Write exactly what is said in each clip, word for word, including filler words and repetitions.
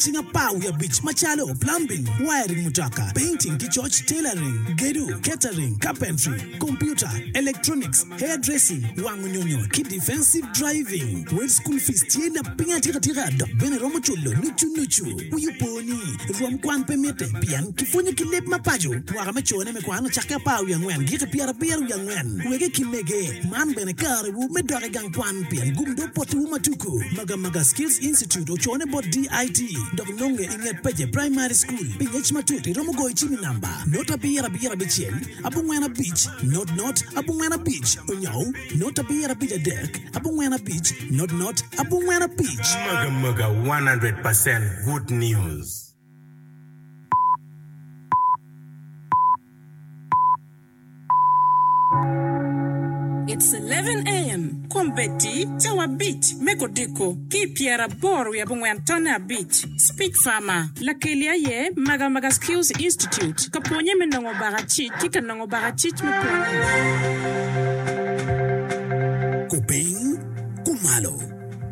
Cing apar wiye abic macalo plumbing, wiring mutoka, painting ki coc, tailoring, gedo, catering, carpentry, computer, electronics, hairdressing, wango nyonyo ki defensive driving. Wel school fees tye lapiny atikatika dok bene romo culo nucu nucu. Wi opo ni rwom kwan pe mitte pien kipwonyo ki leb ma paco. Mwaka me cone me kwan ocakke apar wiye angwen giki pyerabiro wiye angwen. Wege ki mege man bene karewu me dok i gang kwan pien gum do potiwu matuku. Magamaga Skills Institute ocone bot D I T dok nonge i nget Peje Primary School. Pi ngec matut iromo goyo cim i namba not abiro abiro abicel abongwen abic not not abongwen abic onyo not abiro abic adek abongwen abic not not abongwen abic. Magamaga one hundred percent good news. It's eleven a m. Kombeddi cawa abic me kodiko ki pyeraboro wiye abongwen tonne abic. Speak Farmer. Lakeli aye Magamaga Skills Institute. Ka pwonye me nongo bakacic ki ka nongo bakacic me pwonye. Kupiny, kumalo,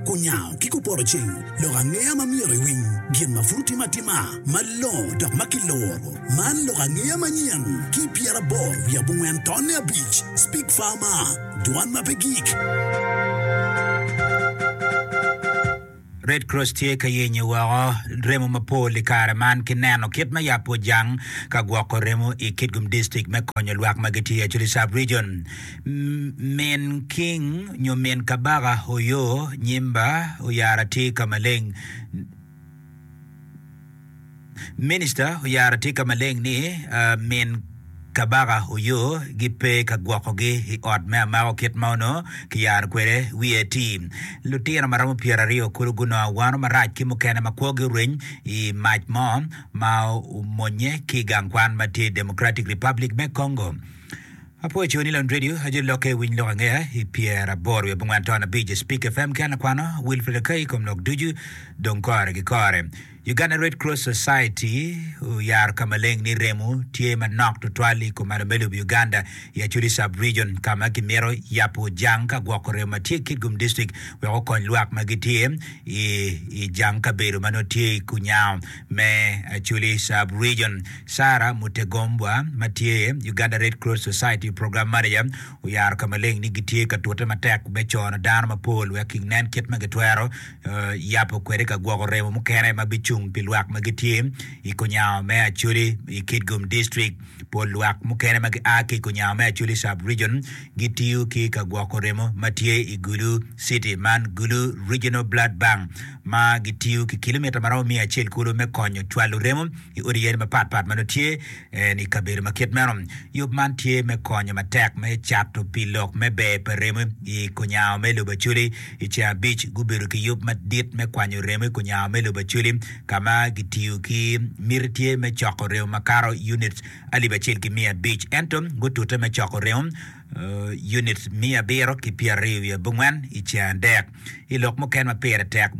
kunyawo ki kupoto ceng, lok angeya ma myero iwiny, gin ma pud timo atima, malongo dok ma kiloro. Man lok angeya manyen ki pyeraboro wiye abongwen tonne abic. Speak Farmer, dwan ma pe gik. Red Cross tye ka yenyo woko remo mapol i kare man ki neno kit ma yabo jang ka gwoko remo i Kitgum District me konyo lwak ma gitye i Acholi Sub-Region. Min King nyo min Kabaka Oyo Nyimba oyaro atir ka maleng. Minista oyaro atir ka maleng ni uh, min Kabaka Oyo gipe ka gwokogi i ot me amako kit ma ono kiyaro kwede wiye ti. Lutino ma romo pyeraryo kulu gunongo awano marac ki mukene ma kwogi orweny i mac mo ma omonye ki i gang kwan ma tye i Democratic Republic me Congo. Apoyo coni Lon Radio ajo loke winy lok angeya i pyeraboro wiye abongwen ton abic Speak F M ki an akwano Wilfred Akai kom lok ducu dong kore ki kore. Uganda Red Cross Society oyaro ka maleng ni remo tye manok tutwal i kumalo me lobo Uganda i Acholi Sub-Region ka ma gimito yabo jang ka gwoko remo ma tye i Kitgum District wek okony lwak ma gitye i, i jang kabedo ma nongo tye i kunyango me Acholi Sub-Region. Sarah Mutegombwa ma tye Uganda Red Cross Society Program Manager oyaro ka maleng ni gitye ka tute matek me cono dano mapol wek ginen kit ma gitwero uh, yabo kwede ka gwoko remo mukene ma bicung pi lwak ma gitye i kunyango me Acholi i Kitgum District. Pol lwak mukene ma gia ki i kunyango me Acholi Sub-Region gitiyo ki ka gwoko remo ma tye i Gulu City man Gulu Regional Blood Bank ma gitiyo ki kilomita maromo miya acel kulu me konyo cwalo remo i odi yadi mapatpat ma nongo tye eh, i kabedo ma kit meno. Yub man tye me konyo matek me cato pi lok me ber pa remo i kunyango me lobo Acholi. I ceng abic gubedo ki yub madit me kwanyo remo i kunyango me lobo Acholi ka ma gitiyo ki miti tye me coko remo makato units alip acel ki miya abic ento gutute me coko remo uh, units miya abiro ki pyeraryo wiye abongwen i ceng adek. I lok mukene ma pire tek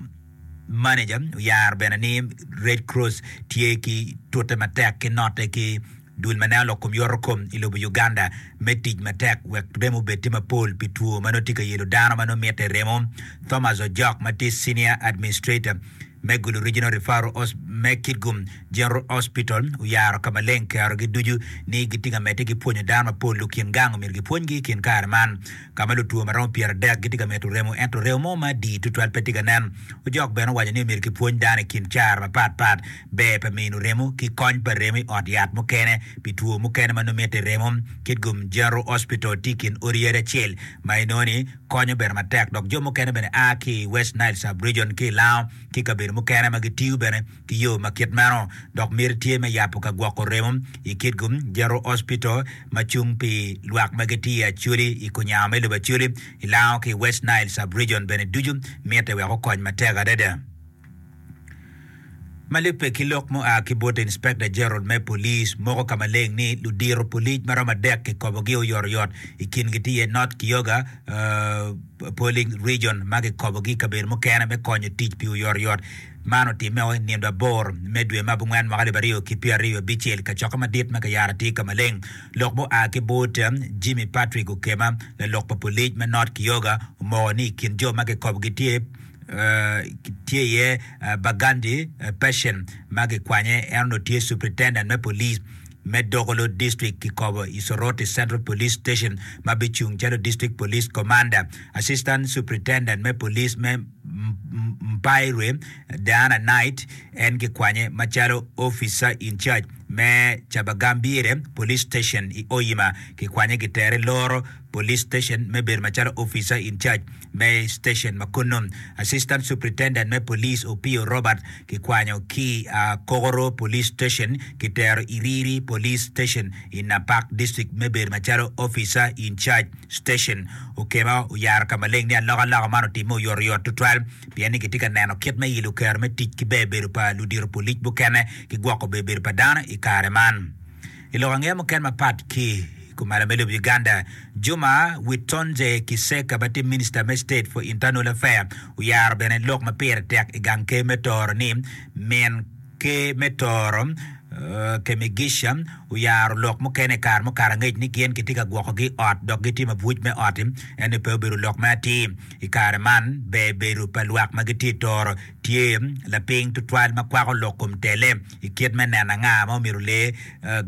manager oyaro bene ni Red Cross tye ki tute matek ki note ki dul ma neno lok kom yoto kom i lobo Uganda me tic matek wek remo obed tye mapol pi two ma nongo tye ka yelo dano ma nongo mitte remo. Thomas Ojok ma tye senior administrator me Gulu Regional Referral Hos me Kitgum General Hospital oyaro ka maleng kerogi ducu ni gitye ka medde ki pwonyo dano mapol lukin gang omyero gipwonygi i kin kare man ka ma lutwo ma romo pyeradek gitye ka mito remo ento remo mo ma adi tutwal pe tye ka nen. Ojok bene owaco ni omyero kipwony dano i kin car mapatpat ber pa mino remo ki kony pa remo i ot yat mukene pi two mukene ma nongo mitte remo. Kitgum General Hospital tye i kin odi yadi acel ma inongo ni konyo bene matek dok jo mukene bene a ki i West Nile Sub-Region ki i Lango ki kabedo mukene ma gitiyo bene ki yo ma kit meno dok miti tye me yabo ka gwoko remo i Kitgum General Hospital ma cung pi lwak ma gitye i Acholi i kunyango me lobo Acholi i Lango ki i West Nile Sub-Region bene ducu mitte wek okony matek adada. Ma lubbe ki lok mua ki bot Inspector General me Police moko ka maleng ni ludiro polic maromo adek kikobogi oyotoyot i kingi tye iye North Kyoga uh, Polling Region ma kikobogi i kabedo mukene me konyo tic pi oyotoyot man otimme i nindo aboro me dwe ma abongwen mwaka alip aryo ki pyeraryo abicel kacokke madit ma kiyaro atir ka maleng lok mua ki bot Jimmy Patrick Okema lalok pa polic me North Kyoga omoko ni i kin jo ma kikobogi tye tye iye Bagandi Patient ma kikwanye en onongo tye Superintendent me Police me Dokolo District kikobo i Soroti Central Police Station ma bicung calo District Police Commander. Assistant Superintendent me Police me Mpairwe Diana Knight en kikwanye macalo Officer in Charge me Kyabagambire Police Station i Oyima kikwanye kitere Loro Police Station me bedo macalo Officer in Charge me station ma kunnu. Assistant Superintendent me Police Opio Robert kikwanyo ki Kokoro Police Station kitero Iriri Police Station i Napak District me bedo macalo Officer in Charge Station. Okema oyaro ka maleng ni alokaloka man otimme oyotoyot tutwal pien ni kitye ka neno kit me ilo kero me tic ki ber bedo pa ludito polic mukene ki gwoko ber bedo pa dano i kare man. I lok angeya mukene mapat ki kumalo me lobo Uganda, Juma Witonze Kiseka ma tye Minister me State for Internal Affairs oyaro bene lok ma pire tek i gang ker me Toro ni min ker me Toro Kemigisha oyaro lok mukene i kare mukato angec ni gin kitye ka gwokogi i ot dok gitye mabuc me ot-ti ento pe obedo lok me atir. I kare man, ber bedo pa lwak ma gitye i Toro tye lapiny tutwal ma kwako lok kom tele i kit me neno anga ma omyero olee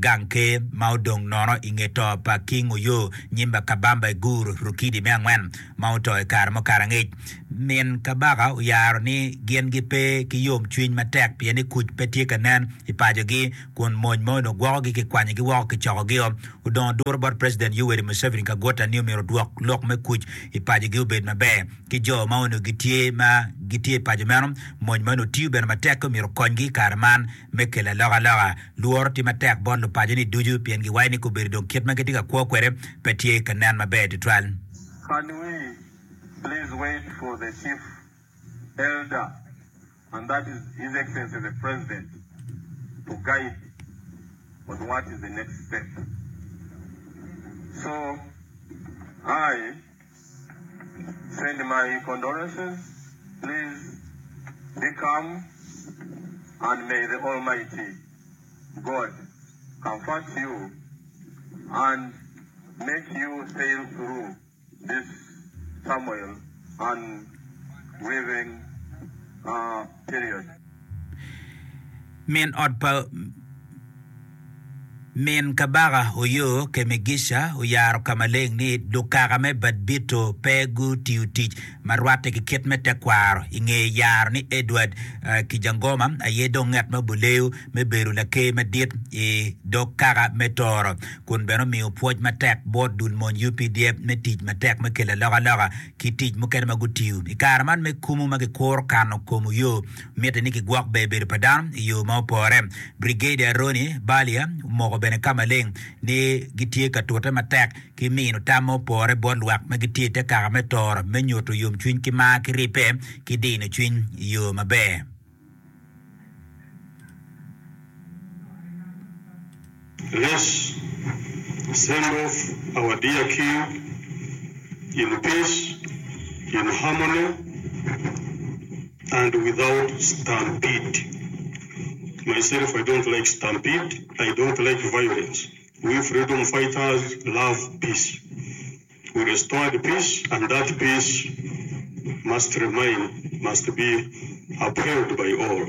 gang ker ma odong nono i nge to pa King Oyo Nyimba Kabamba Iguru Rukidi me angwen ma oto i kare mukato angec. Min kabaka oyaro ni gin gipe ki yomcwiny matek pien ni kuc pe tye ka nen i pacogi kun mony ma onongo gwokogi kikwanyogi woko kicokogio. Odongo duro bot President Yoweri Museveni Kaguta ni omyero odwok lok me kuc i pacogi obed maber ki jo ma onongo gitye ma gitye i paco meno. Mony ma onongo tiyo bene matek ki omyero okonygi i kare man me kelo alokaloka. Lworo tye matek bot lupaco-ni ducu pien giwaco ni kobedo dong kit ma gitye ka kwo kwede pe tye ka nen maber tutwal. Can we please wait for the chief elder and that is His Excellency the President to guide on what is the next step. So I send my condolences. Please be calm and may the Almighty God comfort you and make you sail through this turmoil and grieving uh, period. Min ot pa Min kabaka Oyo Kemigisha oyaro ka maleng ni lukaka me Badbito pe gutiyo tic ma rwatte ki kit me tekwaro i nge yaro ni Edward Kijangoma aye dong ngat ma oboleyo me bedo laker madit i dog kaka me Toro kun bene omiyo pwoc matek bot dul mony U P D F me tic matek me kelo alokaloka ki tic mukene ma gutiyo i kare man me kumu ma kikuro kano kom Oyo mitte ni kigwok ber bedo pa dano i yo ma opore. Brigadier Ronnie Balia omoko bene ka maleng ni gitye ka tute matek ki mino tam ma opore bot lwak ma gitye i te kaka me Toro me nyuto yomcwiny ki mar ki ribbe ki dino cwiny i yo maber. Let's send off our dear King in peace, in harmony, and without stampede. Myself, I don't like stampede, I don't like violence. We freedom fighters love peace. We restored peace, and that peace must remain, must be upheld by all.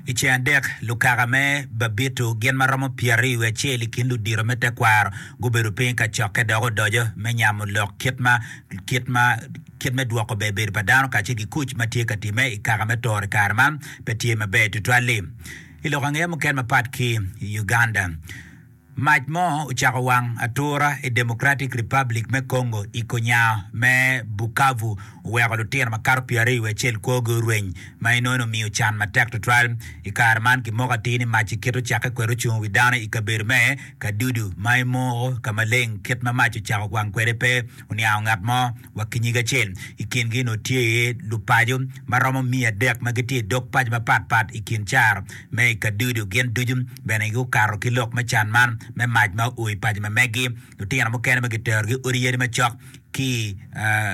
I ceng adek, lukaka me Babito gin ma romo pyeraryo wiye acel i kin ludito me tekwaro gubedo piny ka cokke dok odoco me nyamo lok kit ma kit ma kit me dwoko ber bedo pa dano kacel ki kuc ma tye ka timme i kaka me Toro i kare man pe tye maber tutwal-li. I lok angeya mukene mapat ki i Uganda, mac mo ocako wang atura i Democratic Republic me Congo i konyango me Bukavu oweko lutino makato pyeraryo wiye acel kwogi orweny ma inongo omiyo can matek tutwal. I kare man kimoko atir ni mac-ci kit ocakke kwede ocungo wi dano i kabedo me Kadudu ma imoko ka maleng kit ma mac ocako wang kwede pe oniango ngat mo wa ki nyig acel. I kingi onongo tye iye lupaco ma romo miya adek ma gitye i dog paco mapatpat i kin caro me i Kadudu. Gin ducu bene gukato ki lok me can man me mac ma oo i paco ma meggi. Lutino mukene ma kiterogi odi yadi macok ki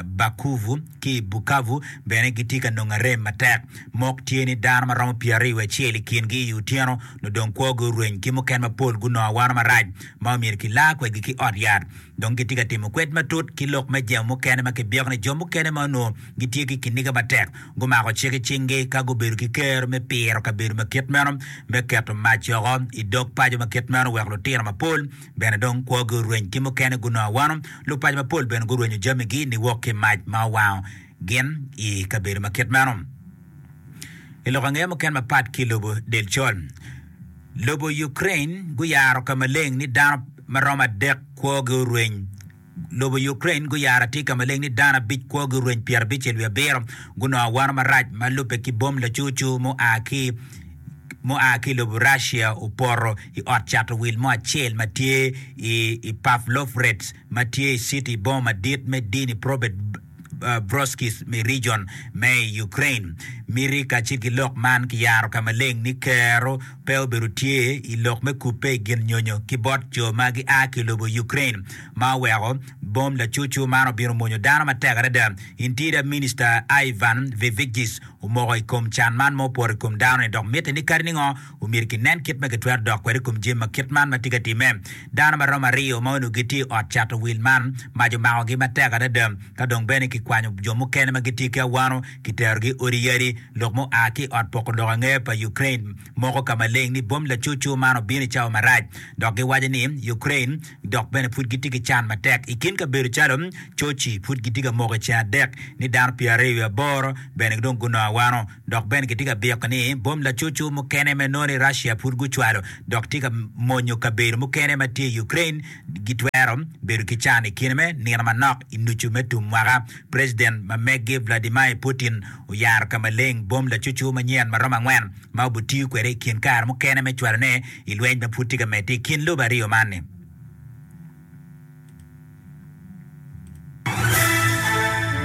Bakuvu ki Bukavu bene gitye ka nongo arem matek. Mok tye ni dano ma romo pyeraryo wiye acel i kingi i otyeno nongo dong kwogi orweny ki mukene mapol gunongo awano marac ma omyero kilar kwedgi ki ot yat. Dong gitye ka timo kwed matut ki lok me jemo mukene ma kibyeko ni jo mukene ma onongo gitye ki kiniga matek gumako cik i cinggi ka gubedo ki kero me piro kabedo ma kit meno me keto mac woko i dog paco ma kit meno wek lutino mapol bene dong kwogi orweny ki mukene gunongo awano. Lupaco mapol bene gurwenyo jamigi niwok ki mac ma owango gin i kabedo ma kit meno. I lok angeya mukene mapat ki lobo del col, lobo Ukraine guyaro ka maleng ni dano ma romo adek kwogi orweny. Lobo Ukraine guyaro atir ka maleng ni dano abic kwogi orweny pyerabicel wiye abiro gunongo awano marac ma lubbe ki bom lacucu mua ki mua ki i lobo Russia opoto i ot cato wil mo acel ma tye i Pavlovrets ma tye i citi boma madit me Dnipropetrovsk i region me Ukraine. Miti kacel ki lok man kiyaro ka maleng ni kero pe obedo tye i lok me kubbe i gin nyonyo ki bot jo ma gia ki i lobo Ukraine ma oweko bom lacucu man obino mwonyo dano matek adada. Interior Minister Ivan Vivigis omoko i kom can man ma opoto i kom dano-ni dok mitte ni kadi ningo omyero kinen kit ma kitwero dok kwede i kom jami ma kit man ma tye ka timme. Dano ma romo aryo ma onongo gitye i ot cato wil man mac omakogi matek adada ka dong bene kikwanyo jo mukene ma gitye ki awano kiterogi i odi yadi. Lok ma oa ki i ot poko lok angeya pa Ukraine moko ka maleng ni bom lacucu man obino i cawa marac dok giwaco ni Ukraine dok bene pud gitye ki can matek i kin kabedo calo Sochi pud gitye ka moko i ceng adek ni dano pyeraryo wiye aboro bene dong gunongo awano dok bene gitye ka byeko ni bom lacucu mukene me nongo ni Russia pud gucwalo dok tye ka monyo kabedo mukene ma tye i Ukraine gitwero bedo ki can i kine me nino manok i nucu me tum mwaka. President ma meggi Vladimir Putin oyaro ka maleng bom lacucu manyen ma romo angwen ma obitiyo kwede i kin kare mukene me cwalone i lweny ma pud tye ka medde i kin lobe aryo man-ni.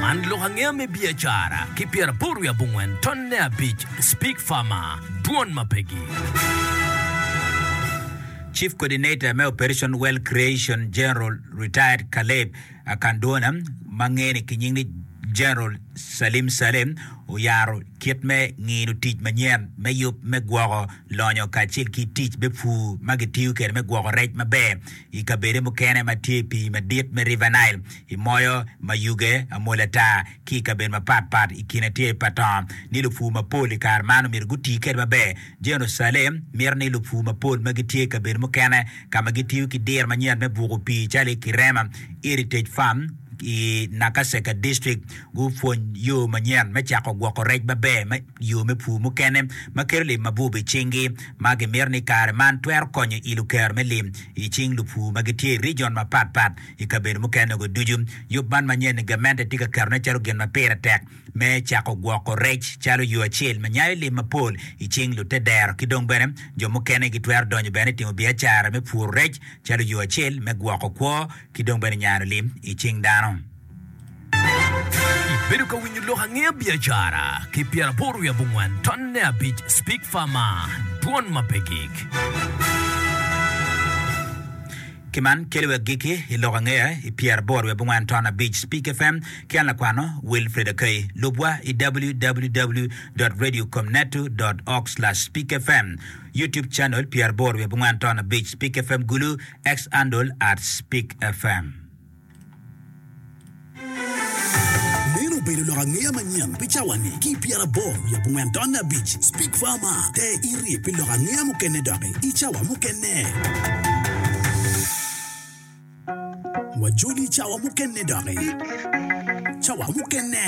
Man lok angeya me biacara ki pyeraboro wiye abongwen tonne abic Speak Farmer, Dwon ma pegi. Chief Coordinator me Operation Wealth Creation General Retired Caleb Akandwona ma ngene ki nying ni General Salim Saleh oyaro kit me ngino tic manyen me yub me gwoko lonyo kacel ki tic me pur ma gitiyo kwede me gwoko rec maber i kabede mukene ma tye i pii madit me River Nile i moyo mayuge amol ata ki i kabedo mapat pat i kine tye pa tongo ni lupur mapol i kare man omyero guti kwede maber. General Saleh mito ni lupur mapol ma gitye i kabedo mukene ka ma gitiyo ki diro manyen me buko pii calo i Kirema Heritage Farm i Nakaseka District gupwony yo manyen me cako gwoko rec maber me yo me pur mukene ma kelo lim mabup i cinggi ma gimito ni kare man twero konyo ilo kero me lim i cing lupur ma gitye i region mapat pat i kabedo mukene-gu ducu. Yub man manyen-ni gamente tye ka ketone calo gin ma pire tek me cako gwoko rec calo yo acel ma nyayo lim mapol i cing lutedero ki dong bene jo mukene gitwero donyo bene i timo biacara me puro rec calo yo acel me gwoko kwo ki dong bene nyano lim i cing dano. Ibedo ka winyo lok angeya biacara ki pyeraboro wiye abongwen tonne abic Speak Farmer, Dwon ma pe gik. Ki man kelo wa agikki i lok angeya i pyeraboro wiye abongwen ton abic Speak F M ki an lakwano Wilfred Akay. Lubwa i W W W dot radio comneto dot org slash speak F M, YouTube channel pyeraboro wiye abongwen ton abic Speak F M Gulu, X handle at Speak F M. Meno obedo lok angeya manyen pi cawa-ni ki i pyeraboro wiye abongwen tonne abic Speak Farmer te iri pi lok angeya mukene doki i cawa mukene. Wajoli i cawa mukene doki. Cawa mukene.